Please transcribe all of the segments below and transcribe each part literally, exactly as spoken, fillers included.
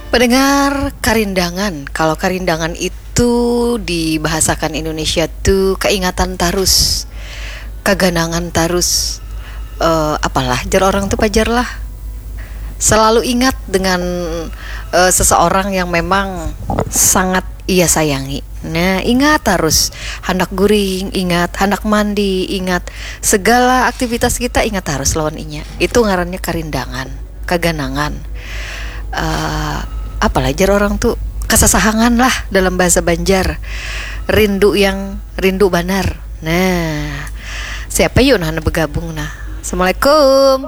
Pendengar, karindangan. Kalau karindangan itu dibahasakan Indonesia tu keingatan tarus, kaganangan tarus. Eh, apalah jar orang tu pajar lah. Selalu ingat dengan eh, seseorang yang memang sangat ia sayangi. Nah, ingat harus handak guring, ingat handak mandi, ingat segala aktivitas kita ingat harus lawan inya. Itu ngarannya karindangan, kaganangan. Eh, apalah jar orang tu, kasasahangan lah dalam bahasa Banjar. Rindu yang rindu banar. Nah, siapa yuk nah bergabung nah? Assalamualaikum.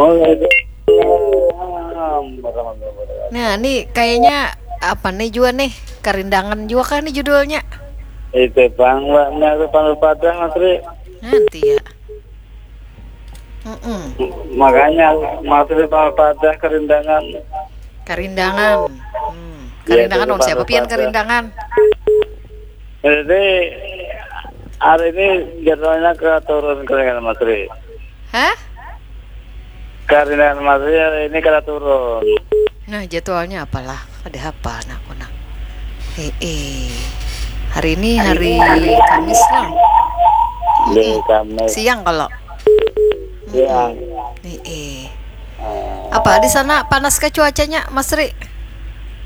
Waalaikumsalam warahmatullahi wabarakatuh. Nah, nih kayaknya apa nih juga nih? Karindangan juga kah nih judulnya? Itu bang, mbaknya itu panggil padah Mas Ri. Nanti ya. Mm-mm. Makanya Mas Ri panggil padah karindangan. Karindangan. Hmm. Iya, Karindangan itu dong siapa panggil pian padah. Karindangan? Jadi hari ini jadwalnya ke turun karindangan Mas Ri. Hah? Karindangan Mas Ri hari ini kada turun. Nah, jadwalnya apalah? Ada apa nak nak? Eh, eh. Hari ini hari Kamis lah. Di Kamis. Siang kalau. Siang. Eh, eh. Eh, Apa di sana panas ke cuacanya, Mas Ri?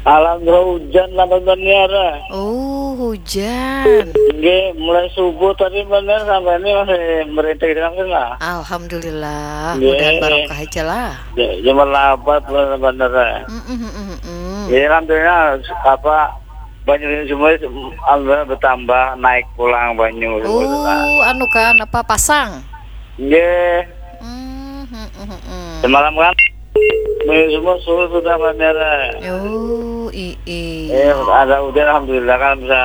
Alhamdulillah hujan lah bener. Oh, hujan. Nggih, mulai subuh tadi bener sampai ini masih merintik langsung lah. Alhamdulillah, Nggih. Mudahan barokah aja lah. Ya, cuma lapat bener-bener. Mm-mm, mm-mm, mm-mm. Ya, alhamdulillah apa banyu ini semua alhamdulillah bertambah, naik pulang banyu semua lah. Oh, anu kan apa pasang? Nggih, Hmm, hmm, hmm, hmm. Semalam kan banyu semua surut sudah bandara. Oh, i i. Eh, ada hujan alhamdulillah kan bisa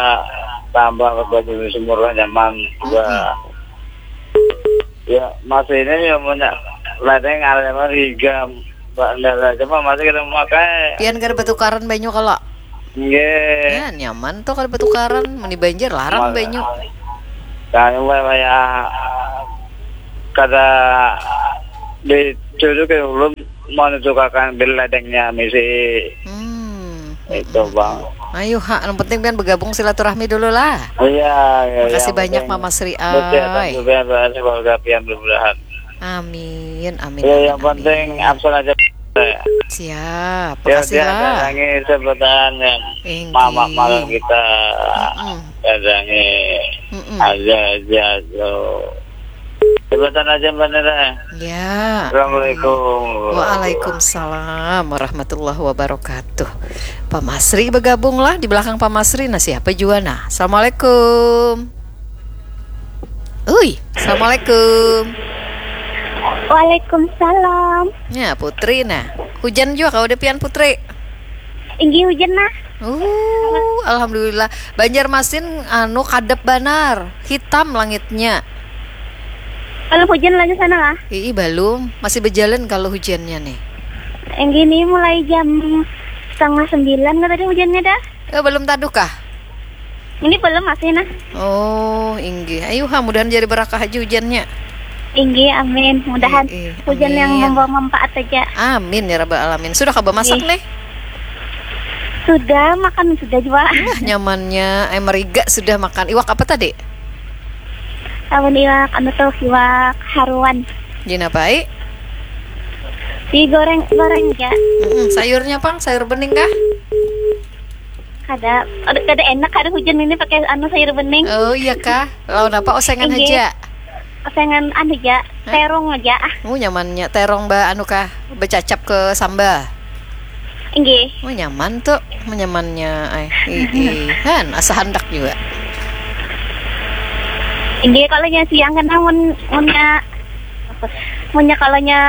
tambah banyu sumur nyaman juga. Ya, masih ini ya punya ladeng ada nyaman higa bandara cuma masih kita memakai. Pian kada bertukaran banyu kalau. Nggih. Ya, nyaman tuh kada bertukaran. Meni banjir larang Mal- banyu. Kami wayah kada dituduh ke ulun mau ditukarkan bil ladengnya misi. Hmm. Itu bang. Ayo ha, yang penting pian bergabung silaturahmi dulu lah. Iya, iya. Makasih Yang banyak penting Mama Sri bersehat Ai. juga ya, keluarga pian mudah-mudahan. Amin, amin. Ya, amin, yang penting amin. Absen aja. Siap, Ya, makasih dia lah. Datangi sebutan yang Inggih. Mama malam kita. Mm-mm. Datangi Mm-mm. aja aja so. Sebutan aja bener. Ya. Assalamualaikum. Waalaikumsalam warahmatullahi wabarakatuh. Pak Masri bergabung lah di belakang Pak Masri. Nah, siapa juga nah? Assalamualaikum. Ui, assalamualaikum. Waalaikumsalam. Ya, Putri nah. Hujan juga kau ada pian Putri. Inggih hujan nah. Uh, alhamdulillah. Banjarmasin anu kadep banar, hitam langitnya. Kalau hujan lagi sana lah. Ii belum, masih berjalan kalau hujannya nih. Inggih ini mulai jam setengah sembilan lah tadi hujannya dah. Eh, belum taduh kah? Ini belum masih nah. Oh, inggih. Ayo ha, mudahan jadi berakah aja hujannya. Inggih amin. Mudahan Ii, hujan yang amin. Membawa manfaat saja. Amin ya rabbal alamin. Sudah kah bemasak Inggih. Nih? Sudah makan sudah juga. Wah, nyamannya. Eh, meriga sudah makan. Iwak apa tadi? Lawan iwak anu tuh iwak haruan. Gina pai? Digoreng goreng aja. Mm-mm. Sayurnya pang, sayur bening kah? Kada aduh, kada enak kada hujan ini pakai anu sayur bening. Oh iya kah? Lawan apa? Osengan Inggih. Aja. Osengan anu aja. Terong aja ah. Oh nyamannya terong ba anu kah? Becacap ke sambal. Inggih. Oh nyaman tuh, nyamannya. Ay, ii, han asa handak juga. Inggih kalau nya siang kan mun munnya munnya kalau nya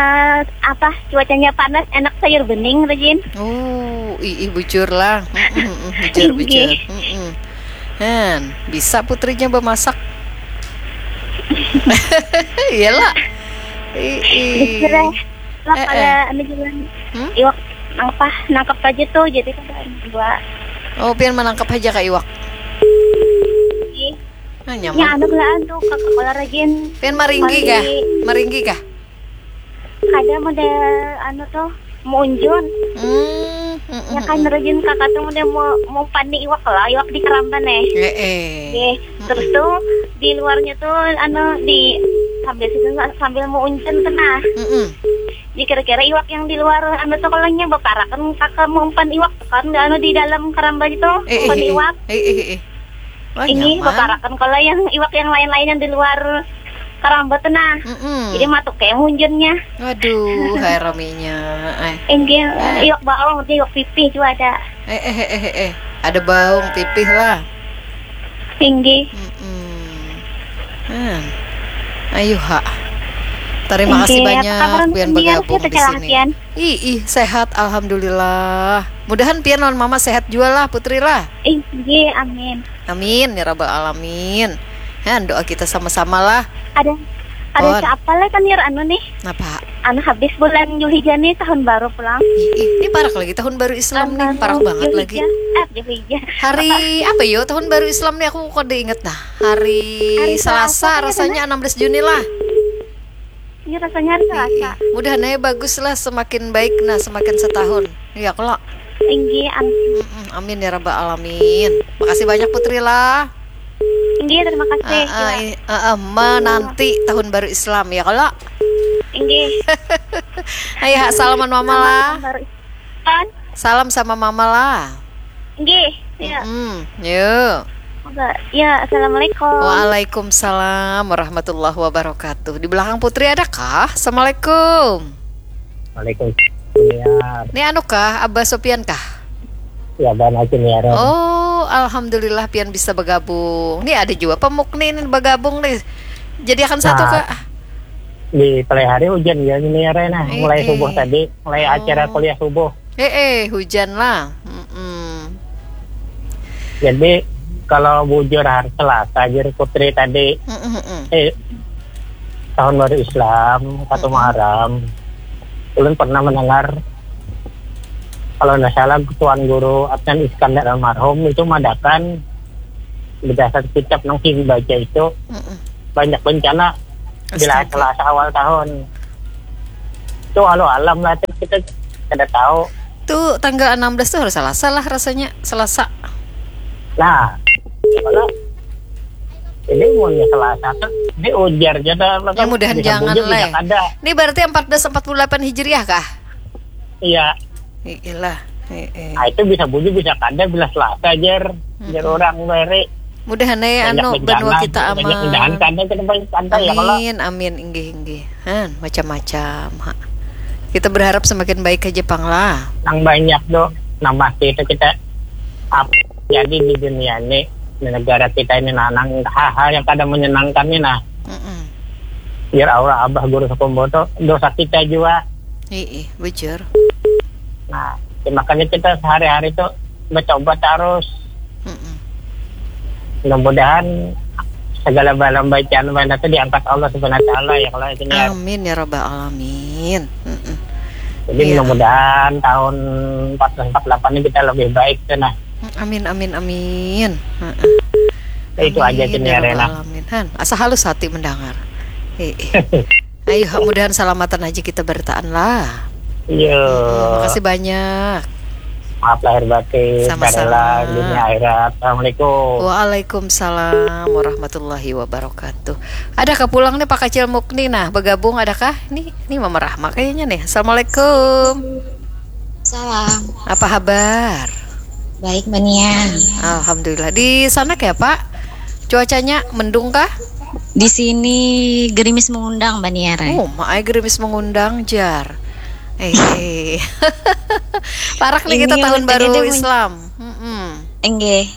apa cuacanya panas enak sayur bening rajin. Oh, ii bujur lah. Mm-mm, mm-mm, bujur Inggih. bujur. Mm-mm. Han bisa putrinya bemasak. Iyalah. Ii. Sudah lah Eh, kalau eh. Anu jalan Hmm? Iwak apa nangkap aja tuh jadi kan dua. Oh, pian menangkap aja kak iwak. Ih, Nah, ya nyaman. Anu gelaan tuh kakak kalau rajin. Pian maringgi kah? Maringgi kah? Ada model anu tuh munjun. Hmm. Ya kan, rajin kakak tuh udah mau mau panik iwak lah, iwak di keramban eh. Eh, eh. Terus tuh di luarnya tuh anu di sambil situ sambil mau uncen tuh nah. Mm-mm. Jadi kira-kira iwak yang di luar anu tuh kalau nya baparakan kakak mau umpan iwak tuh kan anu di dalam keramban itu eh, umpan eh, iwak. Eh, eh, eh. Wah, ini nyaman. Baparakan kalau yang iwak yang lain-lain yang di luar karamba tuh nah. Mm-mm. Jadi matuk kayak munjunnya. Waduh, hai raminya. Eh. Inggih, eh. Iwak baung, iwak pipih juga ada. Eh, eh, eh, eh, eh. Ada baung pipih lah. Inggih. Mm-mm. Hmm. Ayo ha. Terima kasih banyak pian bergabung di sini. Ih, ih, sehat alhamdulillah. Mudahan pian lawan mama sehat juga lah Putri lah. Inggih, amin. Amin ya rabbal alamin. Ya, doa kita sama-sama lah. Ada ada siapa lah kan ya anu nih? Napa? Anu habis bulan Julhijjah nih tahun baru pulang. Ih, ini parak lagi tahun baru Islam tahun nih, parak banget lagi. Eh, Julhijjah. Hari apa yo tahun baru Islam nih aku kok diinget nah. Hari, hari Selasa, Selasa rasanya enam belas Juni lah. Ini rasanya hari Selasa. Mudahan aja bagus lah, semakin baik nah, semakin setahun. Iya kalau. Tinggi amin. Mm-mm, amin ya rabbal alamin. Makasih banyak Putri lah. Tinggi terima kasih. Uh, uh, uh, uh, menanti tahun baru Islam ya kalau. Tinggi. Ayo salaman mama lah. Tahun baru Islam. Salam sama mama lah. Tinggi. Ya. Hmm, yuk. Ya, assalamualaikum. Waalaikumsalam warahmatullahi wabarakatuh. Di belakang Putri ada kah? Assalamualaikum. Waalaikumsalam. Ini anu kah, Abah Sopian kah? Ya, Abah Najim ya. Oh, alhamdulillah pian bisa bergabung. Nih ada juga pemuk nih ini bergabung nih. Jadi akan satu nah, kak. Di pelai hari hujan ya ini ya Rena. Mulai eh, subuh eh. Tadi, mulai oh. Acara kuliah subuh. Eh, eh, hujan lah. Mm-mm. Jadi kalau bujur hari Selasa jir Putri tadi, mm-mm. Eh, tahun baru Islam, satu mm-mm. Muharram, ulun pernah mendengar kalau tidak salah Tuan Guru Adnan Iskandar almarhum itu madakan berdasar kitab yang dibaca itu mm-mm. Banyak bencana bila Selasa awal tahun. Itu alu alam lah kita kada tahu. Tuh tanggal enam belas tuh harus Selasa lah rasanya, Selasa. Nah, kalau ini umurnya Selasa tuh, ini ujar aja dah. Ya mudahan jangan lah. Ini berarti empat belas empat puluh delapan Hijriah kah? Iya. Iyalah. Nah, itu bisa bujur bisa kada bila Selasa jar, jar orang bari. Mudahan eh anu benua kita aman. Mudahan kada kita banyak santai ya kalau. Amin, amin, inggih inggih. Han, macam-macam. Ha. Kita berharap semakin baik aja pang lah. Nang banyak tuh, nang pasti itu kita apa jadi di dunia ini, di negara kita ini nah, nang hal-hal yang kada menyenangkan nih nah. Mm-mm. Biar aura abah guru sekumbo tuh dosa kita juga. Iya, bujur. Nah, ya makanya kita sehari-hari tuh mencoba terus. Mm-mm. Mudah-mudahan segala bala bacaan bala itu diangkat Allah Subhanahu wa taala ya kalau itu niat. Amin ya rabbal alamin. Mm-mm. Jadi ya. Mudah-mudahan tahun empat belas empat puluh delapan ini kita lebih baik tuh nah. Amin amin amin. Mm-mm. Ya, itu aja amin, ya Rena. Alamin. Han, asa halus hati mendengar. Eh, eh. Ayo, mudahan salamatan aja kita berataan lah. Iya. Hmm, makasih banyak. Maaf lahir batin. Sama-sama. Dunia akhirat. Assalamualaikum. Waalaikumsalam warahmatullahi wabarakatuh. Adakah pulang nih Pak Kacil Mukni? Nah, bergabung adakah? Nih, nih Mama Rahma kayaknya nih. Assalamualaikum. Salam. Apa kabar? Baik, Mbak Nia. Alhamdulillah. Di sana kayak apa? Cuacanya mendung kah? Di sini gerimis mengundang, Mbak Nia. Oh, maai gerimis mengundang, jar. Eh, parak nih kita tahun baru Islam. Mm-mm. Enggak.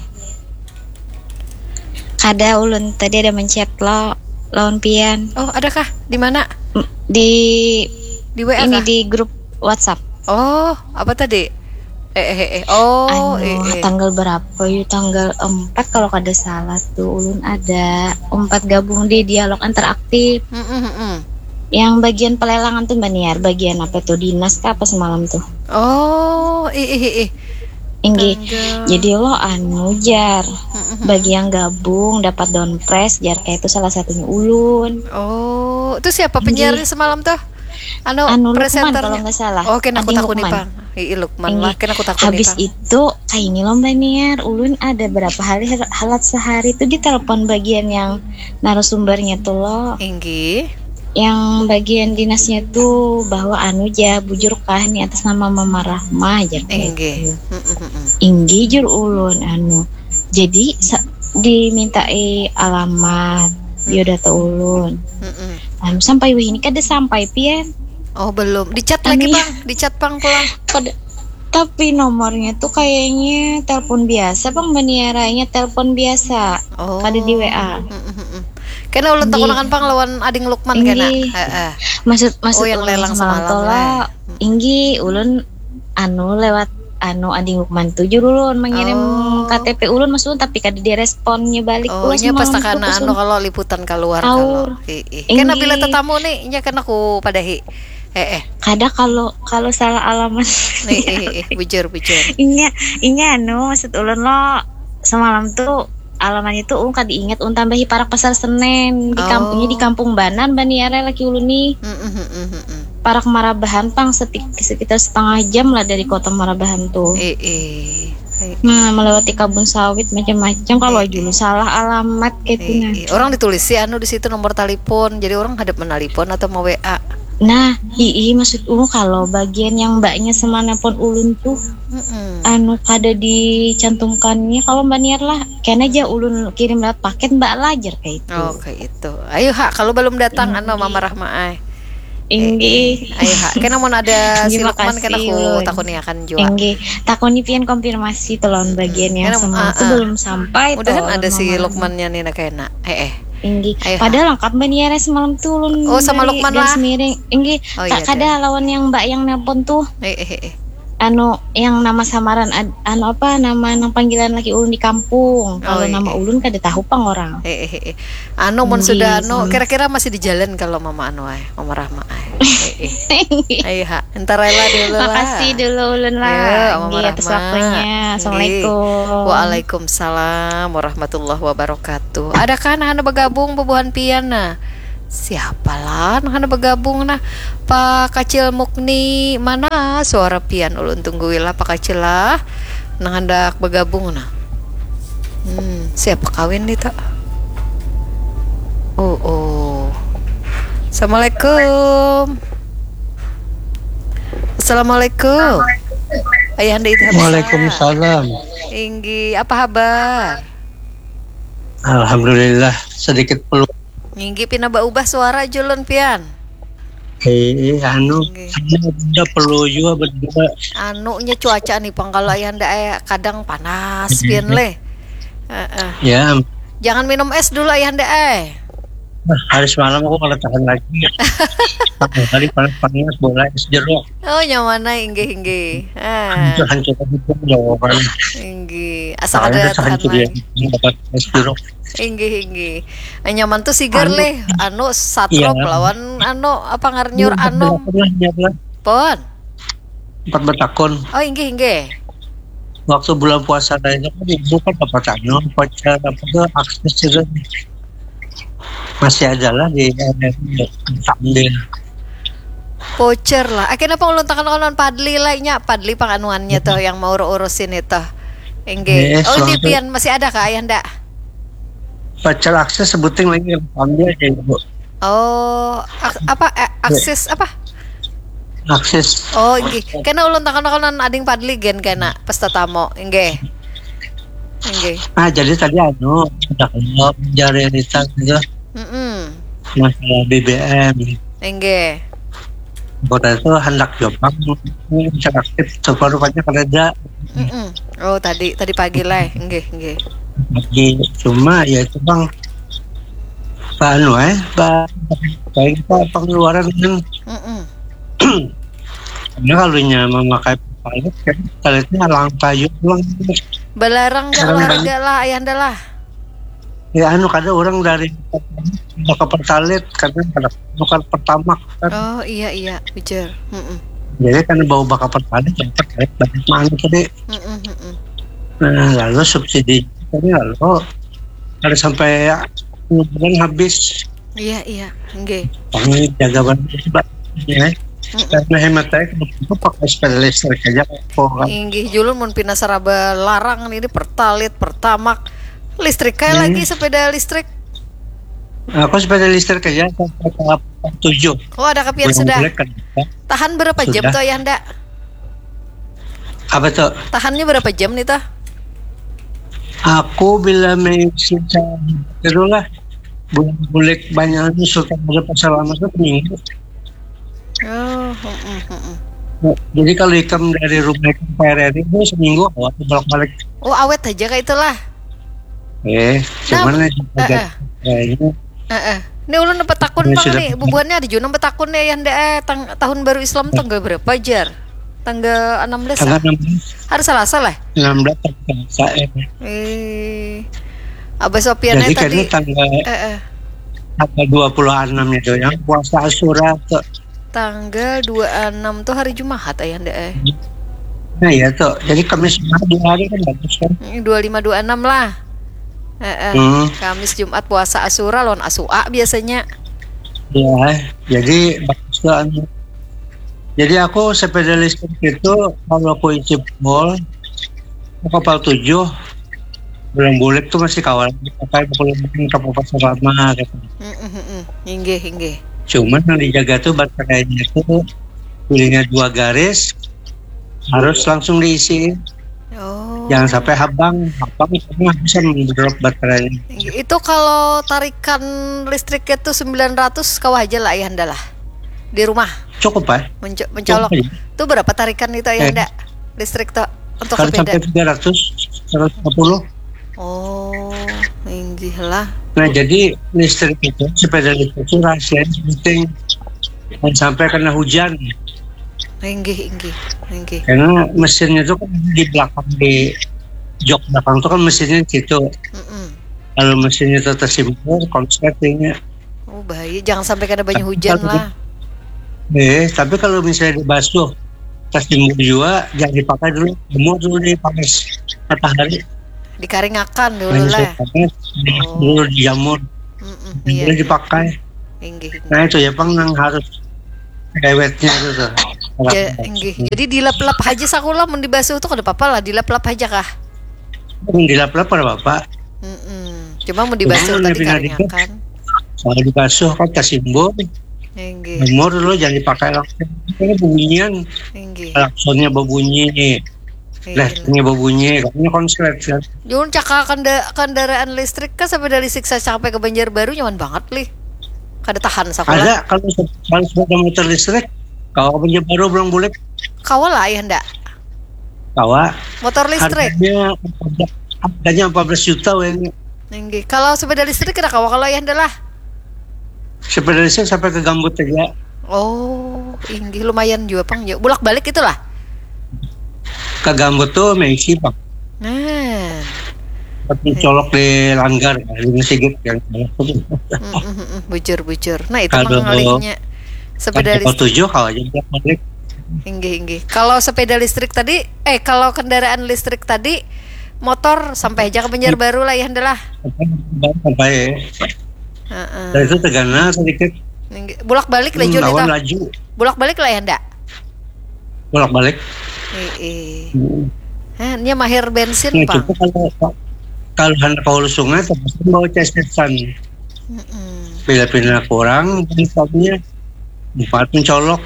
Ada ulun tadi ada mencet lo lawan pian. Oh, adakah? Di mana? Di di W A ini kah? Di grup WhatsApp. Oh, apa tadi? Eh, eh, eh. Oh, anu, eh, eh. Tanggal berapa yuk? Tanggal empat kalau kada salah tuh ulun ada empat gabung di dialog interaktif. Mm, mm, mm. Yang bagian pelelangan tuh Mbak Niar, bagian apa tuh dinas kah apa semalam tuh? Oh, ih, ih, ih. Inggih. Jadi lo anu jar, mm, mm, mm. Bagi yang gabung dapat downprize jar kayak itu salah satunya ulun. Oh, itu siapa penyiarnya semalam tuh? Anu, anu Lukman kalau nggak salah. Oke, nah, aku takut nih, Pang. Ii, Lukman lah, kena aku takuni. Habis itu, kayak ini loh Mbak Niar, ulun ada berapa hari halat sehari tuh ditelepon bagian yang narasumbernya tuh loh. Inggih. Yang bagian dinasnya tuh bahwa anu ja, bujur kah nih atas nama Mama Rahma aja. Inggih. Inggih jur ulun anu. Jadi dimintai alamat biodata ulun. Anu sampai wih ini kada sampai pian. Oh belum. Dicat lagi bang, dicat bang pulang. Tapi nomornya tuh kayaknya telepon biasa bang, baniaranya telepon biasa. Oh. Kada di W A. Kena ulun takunakan pang lawan ading Lukman kena. Heeh. Maksud maksud oh, yang lelang semalam tola. Inggi ulun anu lewat anu ading Lukman tuh jur ulun mengirim oh. K T P ulun maksud tapi kada diresponnya balik. Oh, nya pas takana anu kalau liputan keluar kalau. Heeh. Kena bila tetamu nih, nya kena ku padahi. Eh, eh. Kada kalau kalau salah alamat. Nih, eh, eh, bujur, bujur. Inya, inya anu maksud ulun lo semalam tuh alamannya tuh ulun kada ingat ulun tambahi parak pasar Senen di oh. Kampungnya di Kampung Banan baniara laki ulun nih. Mm -mm, mm -mm. Parak Marabahan pang sekitar setengah jam lah dari kota Marabahan tuh. Eh, eh. Nah, melewati kabun sawit macam-macam kalau aja lu salah alamat kayak gitu nah. Orang ditulis sih anu di situ nomor telepon. Jadi orang hadap menelpon atau mau W A. Nah, ii maksud uh kalau bagian yang mbaknya semana pun ulun tuh mm -mm. Anu kada dicantumkannya kalau mbak niat lah kena aja ulun kirim lewat paket mbak lajar kayak itu. Oh, kayak itu. Ayo ha kalau belum datang anu mama Rahma ai. Inggih. Ayo ha. Kena mau ada si Lukman kena ku takuni akan jua. Inggih. Takuni pian konfirmasi telon bagian yang semalam tu belum sampai. Mudahan ada si Lukmannya ni nak kena. Eh eh. Inggih. Ayo. Padahal lengkap mbak Niara semalam tu ulun. Oh sama Lukman lah. Miring. Inggih. Oh, iya, kada lawan yang mbak yang nelpon tu. Eh eh eh. Anu yang nama samaran anu apa nama nang panggilan lagi ulun di kampung. Kalau oh, iya. Nama ulun kada tahu pang orang. Eh eh eh. Anu mun sudah anu kira-kira masih di jalan kalau mama anu ay, mama Rahma ay. Eh, eh. Ayo ha, entar rela dulu lah. Makasih dulu ulun lah. Iya, mama Rahma. Atas waktunya. Assalamualaikum. Waalaikumsalam warahmatullahi wabarakatuh. Ada kan anu bergabung bubuhan pian nah. Siapa lah nang handak bergabung nah? Pak Kacil Mukni mana suara pian ulun tungguilah Pak Kacil lah nang handak bergabung nah. Hmm, siapa kawin nih tak? Oh, oh. Assalamualaikum. Assalamualaikum. Ayah Anda itu Waalaikumsalam. Inggi, apa kabar? Alhamdulillah, sedikit perlu Ninggi pina baubah suara julun pian. Eh, anu, udah perlu juga berdua. Anunya cuaca nih pang kalau ayah ndak eh, kadang panas pian leh. Uh -uh. Ya. Jangan minum es dulu ayah ndak eh. Hari semalam aku kalau tahan lagi. Hari panas-panas bola es jeruk. Oh nyaman inggih inggih. Ah. Hancur hancur jawaban. Inggih. Asal ada tahan lagi. Dapat es jeruk. Inggih inggih. Nyaman tuh sigar leh anu satrop iya. Lawan anu apa ngarnyur iya, anu. Pon. Empat betakun. Oh inggih inggih. Waktu bulan puasa tadi itu kan ibu kan dapat anu pacar apa tuh akses itu masih ada lah di sambil voucher lah. Akhirnya pengulun tekan konon Padli lah nya Padli panganuannya tuh yang mau urus-urusin itu. Enggak. Oh, ini pian masih ada kah ayah ndak? Pacar akses sebuting lagi ambil aja ibu. Oh, ak apa eh, akses apa? Akses. Oh, gih. Kena ulun takon-takonan ading Padli gen kena pas tetamu. Enggak. Enggak. Ah, jadi tadi anu, ada kalau jari lisan gitu. Mm -mm. Masalah B B M. Enggak. Kota itu hendak jombang interaktif separuhnya kerja. Mm -mm. Oh tadi tadi pagi lah, enggak enggak. Pagi cuma ya itu bang, pak anu eh, pak, kayak kita pengeluaran kan. Mm -mm. Karena kalau nya memakai pertalite kan pertalite nya langka juga pulang. Belarang gak harga lah ayahanda lah. Ya anu kada orang dari bakal pertalite kadang kada tukar pertamax kan. Oh iya iya bujur. Mm -mm. Jadi kan bau bakal pertalite yang pertalite banyak mana tadi. Mm -mm, mm -mm. Nah lalu subsidi tadi lalu kada sampai bulan habis. Iya iya, nggih. Kami jaga banget ya. Karena hemat saya, kalau itu pakai sepeda listrik aja, kok, kan. Inggih, julun mun pina saraba larang ini, pertalit, pertamak, listrik kayak lagi sepeda listrik. Aku sepeda listrik aja sampai tahap tujuh. Oh, ada kapian sudah. Boleh kan? Tahan berapa jam tuh, Ayahanda? Apa tuh? Tahannya berapa jam nih, tuh? Aku bila mengisi, itu lah, bulan bulik banyak, sultan ada pasar lama tuh seminggu. Oh, heeh, heeh. Nah, jadi kalau ikam dari rumah ikam ke R R I itu seminggu awet bolak-balik. Oh, awet aja kayak itulah. Eh, nah, cuman eh, eh. Kayaknya eh, eh. Ini ulun dapat takun, Bang, nih. Bubuhannya ada juga dapat takun nih, yang eh, tang, tahun baru Islam tanggal berapa, jar? Tanggal enam belas. Tanggal enam belas. Hari Selasa lah. Enam belas tanggal Selasa, eh. Eh. Abah Sopian. Jadi tadi tanggal eh, eh. Tanggal dua puluh enam itu yang puasa Asyura tuh. Tanggal dua puluh enam tuh hari Jumat, Ayahanda, eh. Nah, ya tuh. Jadi Kamis Jumat dua hari kan bagus kan? Dua lima dua enam lah. Eh, eh. Hmm. Kamis, Jumat, puasa Asyura lawan Asua biasanya. Ya, jadi bagus tuh, anu. Jadi aku sepeda listrik itu kalau aku isi full, kapal tujuh, belum bulik tuh masih kawan dipakai, pukul ke pasar lama gitu. Mm, mm, mm, mm. Inggih, inggih. Cuman yang dijaga tuh baterainya tuh, pilihnya dua garis, harus langsung diisi. Oh. Jangan sampai habang, habang itu nggak bisa mendrop baterainya. Itu kalau tarikan listriknya tuh sembilan ratus, kawah aja lah, Ayahanda lah. Di rumah. Cukup, eh? Menco- mencolok. Cukup aja. Itu berapa tarikan itu, Ayahanda? Eh. Listrik tuh untuk sepeda. Kalau sampai tiga ratus, seratus lima puluh. Oh, inggih lah. Nah, jadi listrik itu, sepeda listrik itu rahasia penting. Jangan sampai kena hujan. Inggih, inggih, inggih. Karena mesinnya itu kan di belakang, di jok belakang itu kan mesinnya di situ. Mm-mm. Kalau mesinnya itu tersimbur, konslet ini. Oh, bahaya. Jangan sampai kena banyak hujan lah. Eh, tapi kalau misalnya dibasuh, tersimbur juga, jangan dipakai dulu. Jemur dulu di panas matahari. Dikaringakan dulu lah. Panas, oh. Dulu dijamur. Mm-mm, iya. Boleh dipakai. Inggih, inggih. Nah, itu ya, Pang, yang harus dewetnya itu tuh. Ya, inggih. Jadi dilap-lap aja sakulah, mun dibasuh tuh kada apa-apa lah, dilap-lap aja kah? Mun dilap-lap kada apa-apa. Mm-mm. Cuma mun dibasuh tadi karingakan. Kalau dibasuh kan tersimbur. Inggih. Jemur dulu, jangan dipakai langsung. Ini bunyian. Inggih. Klaksonnya berbunyi. Iya. Lah, ini berbunyi, katanya konslet kan. Jun, caka kenda- kendaraan listrik kan sampai dari Siksa sampai ke Banjarbaru nyaman banget, Lih. Kada tahan sakulah. Ada, kalau se- kalau sepeda motor listrik, kawa ke Banjarbaru pulang bulik. Kawa lah, Ayahanda? Kawa. Motor listrik? Harganya empat belas, harganya empat belas juta wehnya. Inggih. Kalau sepeda listrik kada kawa kalau, Ayahanda lah? Sepeda listrik sampai ke Gambut aja. Oh, inggih, lumayan juga, Pang, ya. Bulak-balik itulah. Ke Gambut tuh meisi, Pang. Nah. Tapi colok di langgar, di Sigit yang Mm, mm, mm, mm. Bujur, bujur. Nah, itu kalau mangalihnya sepeda kalau listrik. Tujuh, kalau aja bulak-balik. Inggih, inggih. Kalau sepeda listrik tadi, eh, kalau kendaraan listrik tadi, motor sampai aja ke Banjarbaru lah, Ayahanda lah. Sampai. Heeh. Dan itu tegana sedikit. Inggih. Bulak-balik lah, hmm, Jun, lawan itu. Laju. Bulak-balik lah, Ayahanda? Bulak-balik. Heeh. Hmm. Hah, nya mahir bensin, nah, Pang. Itu kalau, kalau hendak ke hulu sungai, terpaksa bawa cesetan. Mm-mm. Bila pina kurang, bensinnya empat mencolok.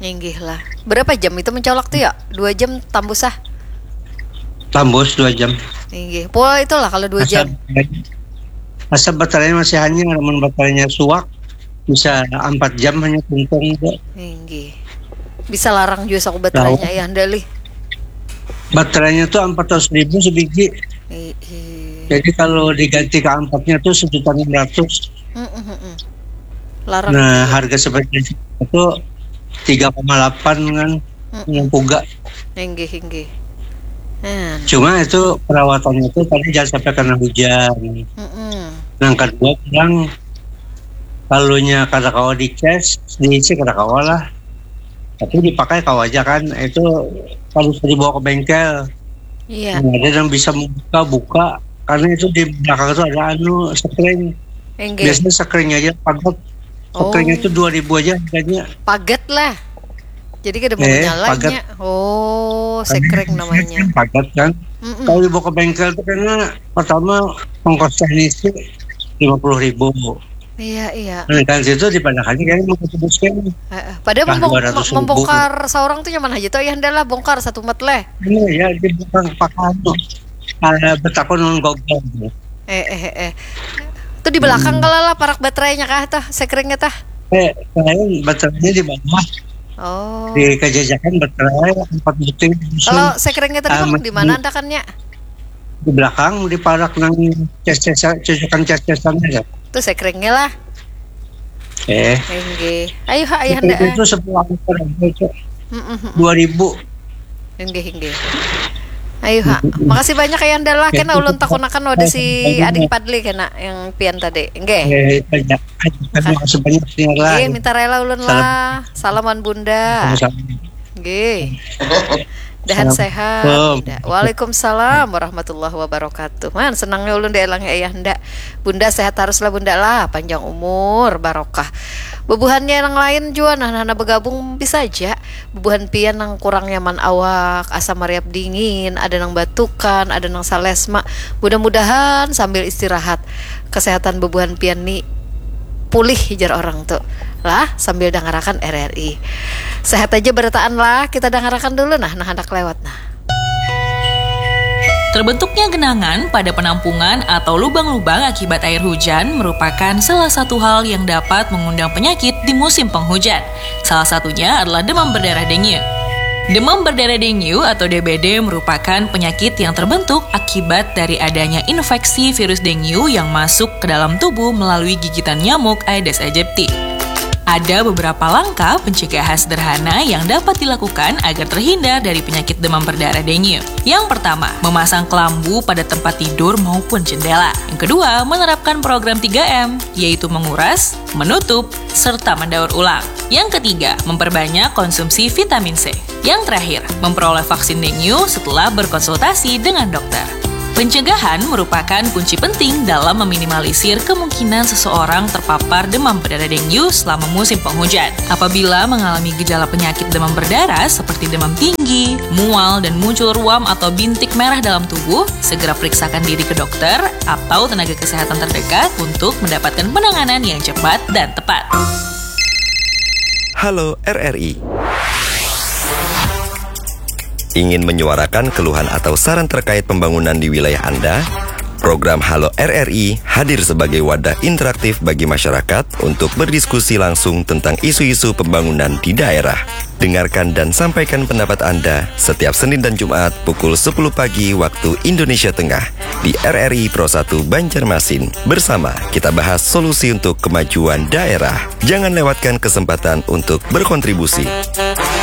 Inggih lah. Berapa jam itu mencolok tuh, ya? Dua jam tambus ah? Tambus dua jam. Inggih. Pola itulah kalau dua jam. Asal baterainya masih hanyar, amun baterainya suak, bisa empat jam hanya tuntung tu. Inggih. Bisa larang juga saku baterainya, ya, Ayahanda, Lih. Baterainya tuh empat ratus ribu sebiji. Ih, ih. Jadi kalau diganti ke ampaknya tuh sejuta enam ratus. Mm, mm, mm, mm. Larang. Nah, juga. Harga seperti itu tiga koma delapan kan, mm-mm, yang puga. Inggih, inggih. Hmm. Cuma itu perawatannya itu tadi jangan sampai kena hujan. Mm-mm. Yang kedua, bilang, kalunya kada kawa dicas, diisi kada kawa lah. Tapi dipakai kawa aja kan, itu kalau sudah dibawa ke bengkel. Iya. Nah, ada yang bisa membuka, buka, karena itu di belakang itu ada anu, sekring. Inggih. Biasanya sekring aja, pagat. Oh. Sekring itu dua ribu aja harganya. Pagat lah. Jadi kada mau eh, nyalanya. Oh, sekreng namanya. Kan pagat kan. Mm-mm. Kalau dibawa ke bengkel itu karena pertama ongkos teknisnya lima puluh ribu. Iya, iya. Nah, kan situ dipadahannya kayak mau ketebuskan. Heeh. Padahal membongkar seorang tuh nyaman aja tuh, ya hendak lah bongkar satu mat leh. Iya, ya, dibongkar pakai anu. Uh, betakun non gogol. Eh, eh, eh. Tuh di belakang hmm. Kalau lah parak baterainya kah tuh, sekrengnya tah? Eh, lain baterainya di bawah. Oh. Di kejajakan baterai empat butir. Kalau sekrengnya tadi uh, di mana andakannya? Di belakang, di parak nang ces-cesan, cocokan ces-cesan aja. Tuh sekrengnya lah. Eh. Enggih. Ayo ha, ayah ndak. Itu sepuluh angker aja, Cok. Dua ribu. Enggih, enggih. Ayo ha. Makasih banyak ya Nda lah, kena ulun takunakan wadah si Ading Padli kena yang pian tadi. Enggih. Eh, banyak. Makasih banyak sih lah. Enggih, minta rela ulun lah. Salam wan Bunda. Sama-sama. Nggih. Dahan sehat. Waalaikumsalam warahmatullahi wabarakatuh. Man, senangnya ulun dielangi ayah ndak. Bunda sehat haruslah Bunda lah, panjang umur, barokah. Bubuhannya yang lain jua nah, nah, nah bergabung bisa aja. Bubuhan pian nang kurang nyaman awak, asa mariap dingin, ada nang batukan, ada nang salesma. Mudah-mudahan sambil istirahat kesehatan bubuhan pian ni pulih, jar orang tu lah sambil dangarakan R R I. Sehat aja berataan lah, kita dangarakan dulu nah, nah handak lewat nah. Terbentuknya genangan pada penampungan atau lubang-lubang akibat air hujan merupakan salah satu hal yang dapat mengundang penyakit di musim penghujan. Salah satunya adalah demam berdarah dengue. Demam berdarah dengue atau D B D merupakan penyakit yang terbentuk akibat dari adanya infeksi virus dengue yang masuk ke dalam tubuh melalui gigitan nyamuk Aedes aegypti. Ada beberapa langkah pencegahan sederhana yang dapat dilakukan agar terhindar dari penyakit demam berdarah dengue. Yang pertama, memasang kelambu pada tempat tidur maupun jendela. Yang kedua, menerapkan program tiga M, yaitu menguras, menutup, serta mendaur ulang. Yang ketiga, memperbanyak konsumsi vitamin C. Yang terakhir, memperoleh vaksin dengue setelah berkonsultasi dengan dokter. Pencegahan merupakan kunci penting dalam meminimalisir kemungkinan seseorang terpapar demam berdarah dengue selama musim penghujan. Apabila mengalami gejala penyakit demam berdarah seperti demam tinggi, mual, dan muncul ruam atau bintik merah dalam tubuh, segera periksakan diri ke dokter atau tenaga kesehatan terdekat untuk mendapatkan penanganan yang cepat dan tepat. Halo R R I. Ingin menyuarakan keluhan atau saran terkait pembangunan di wilayah Anda? Program Halo R R I hadir sebagai wadah interaktif bagi masyarakat untuk berdiskusi langsung tentang isu-isu pembangunan di daerah. Dengarkan dan sampaikan pendapat Anda setiap Senin dan Jumat pukul sepuluh pagi waktu Indonesia Tengah di R R I Pro satu Banjarmasin. Bersama kita bahas solusi untuk kemajuan daerah. Jangan lewatkan kesempatan untuk berkontribusi.